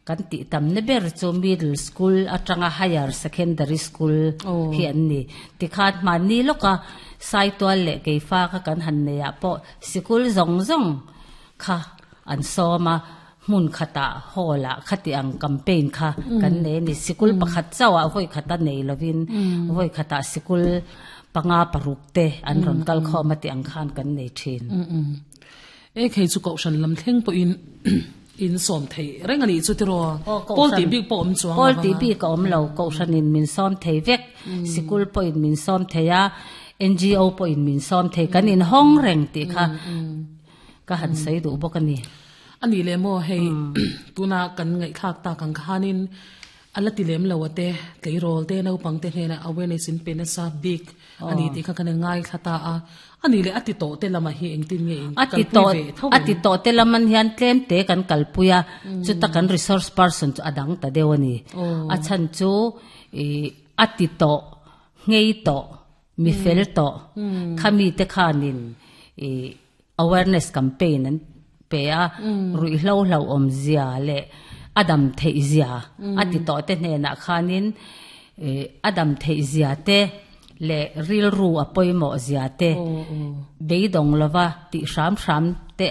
Kan tih tamna ber chu middle school atanga higher secondary school hi an ni. Tikhan hmanni lawka Saitual leh Keifa kha kan han nei ah pawh sikul zawng zawng kha an sawm a, hmun khatah hall ah khati ang campaign kha kan nei a ni. Sikul pakhat chauh ah vawi khata nei lovin vawi khatah sikul panga paruk te an rawn kal khawm a tih ang khan kan nei thin. E khei chu kohhran lam thleng pawhin in sawm thei reng a nih chu tiraw? Pawl tih bik pawh awm chuang lo Pawl tih bik a awm lo, kohhranin min sawm thei vek, sikul pawhin min sawm thei a, NGO pawhin min sawm thei, kan inhawng reng tih kha ka han sawi duh bawk a ni. A nih leh maw hei tuna kan ngaihthlak tak ang khanin A la ti lem lo a te, tleirawl te, naupang te hnenah awareness in pe nasa bik a ni tih kha kan ngaithla ta a. A nih leh a ti tawh te lamah hi engtin nge in kalpui ve tho em? A ti tawh te lam an hian tlem te kan kalpui a, chuta kan resource person chu a dang ta deuh a ni. A chhan chu ih a ti tawh, nghei tawh, mi fel tawh khami te khanin ih Awareness campaign an pe a, ruihhlo hlauhawmzia leh a dam theihzia a ti tawh te hnenah khanin a dam theihzia te leh rilru a pawimawhzia te beidawng lova tih hram hram te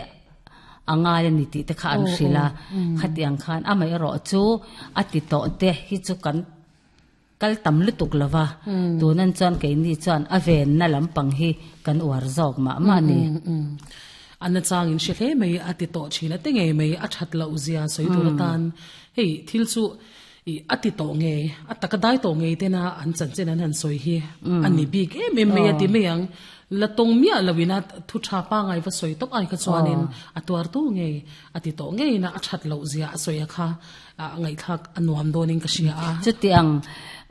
a ngai a ni tih te kha an hrilh a, khatiang khan amaherawh chu a ti tawh te hi chu kan Kal tam lutuk lo va, tunan chuan keini chuan a venna lampang hi kan uar zawk mah mah a ni. A nachang in hre hle mai, a ti tawh thin a ti ngei mai, a that loh zia sawi tur atan hei thil chu i a ti tawh ngei, a taka dai tawh ngei tena an chanchin an han sawi hi a ni bik em em mai a ti mai ang. La tawng miah lo ina thu tha pangai va sawi tawp ai kha chuanin a tuar tu ngei, a ti tawh ngei ina a that loh zia a sawi a kha. A ngaihthlak a nuam dawnin ka hria a. Chutiang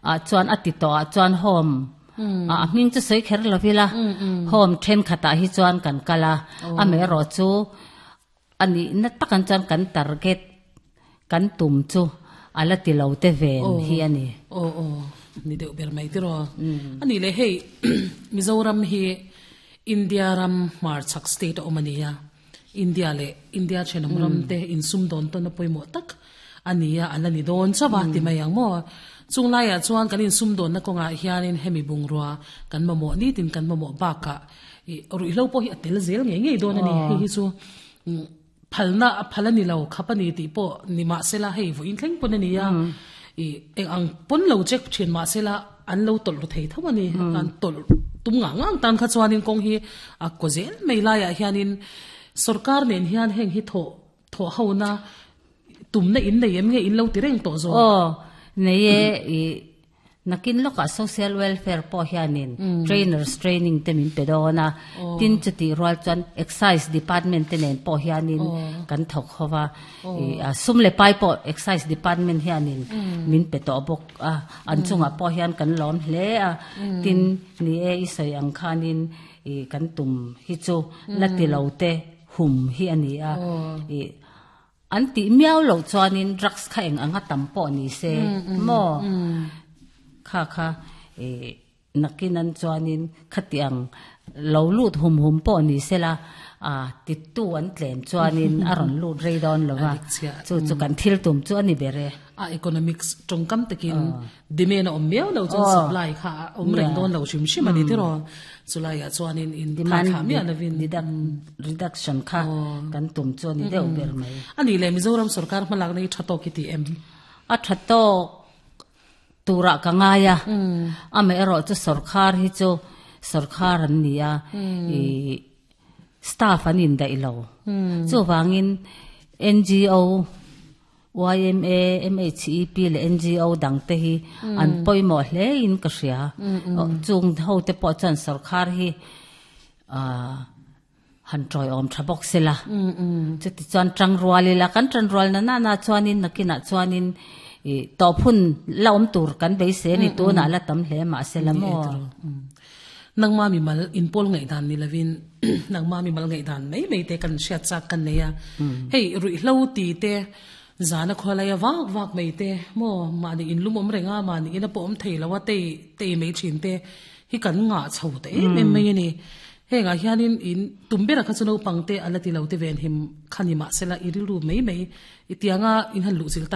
ah chuan a ti tawh ah chuan home a hming chu sawi kher lo ila home thenkhat ah hi chuan kan kal a, amaherawh chu a nihna tak an chuan kan target kan tum chu a la ti lo te ven hi a ni. Aw aw ni deuh ber mai tiraw. A nih leh hei Mizoram hi India ram hmarchhak state a awm a nia. India leh India thenawm ram te insumdawn tawn a pawimawh tak a ni a, a la ni dawn chauh a ti mai ang maw? Chung laiah chuan kan insumdawnna kawngah hianin hemi bungrua kan mamawh nitin kan mamawh bakah ih ruihhlo pawh hi a tel zel ngei ngei dawn a ni. Hei hi chu phalna a phal a ni lo, khap a ni tih pawh ni mahsela hei vawiin thleng pawn a ni a, ih eng ang pawn lo check thin mahsela an lo tawlh ru thei tho a ni. An tawlh tum ngang ngang tan kha chuanin kawng hi a kaw zel mai laiah hianin sorkar nen hian heng hi thawh thawh hona tumna in nei em nge in lo ti reng tawh zawk? Aw, nei e, ih nakin lawkah social welfare pawh hianin trainers training te min pe dawn a, tin chutih rual chuan excise department te nen pawh hianin kan thawk ho va, ih sum leh pai pawh excise department hianin min pe tawh bawk. a, an chungah pawh hian kan lawm hle a, tin ni e i sawi ang khanin ih kan tum hi chu la ti lo te hum hi a ni a, ih an tih miau loh chuanin drugs kha eng anga tam pawh ni se maw kha kha ih Nakin an chuanin khatiang lo lut hum hum pawh ni sela, a tittu an tlem chuanin a rawn lut rei dawn lo va, chu chu kan thil tum chu a ni ber e. A economics tawngkam takin demand a awm miau lo chuan supply kha a awm reng dawn lo hrim hrim a ni tiraw. Chulaiah chuanin in thaithlah miah lovin. Reduction kha kan tum chu a ni deuh ber mai. A nih leh Mizoram sorkar hmalakna hi tha tawk i ti em? A tha tawk. Turah ka ngai a, amaherawh chu sawrkhar hi chu sawrkhar an ni a, ih staff an indaih lo. Chuvangin NGO, yma, MHEP leh NGO dang te hi an pawimawh hle in ka hria. Chung ho te pawh chuan sawrkhar hi ah han tawiawm tha bawk sela. Chuti chuan tangrual ila, kan tanrual na nana chuanin nakinah chuanin ih tawp hun la awm tur kan beisei a ni, tunah la tam hle mah sela maw? Nangma mimal inpawl ngaihdan ni lovin nangma mimal ngaihdan mai mai te kan hriat chak kan nei a. Hei ruihhlo ti te zana khawlaia vak vak mai te maw mahni inlum awm reng a, mahni ina pawh awm thei lo a tei tei mai thin te hi kan ngah chho ta em em mai a ni. Hengah hianin in tum berah kha chu naupang te a la ti lo te ven him kha ni mahsela i rilru mai mai i tianga in han luh chil tak.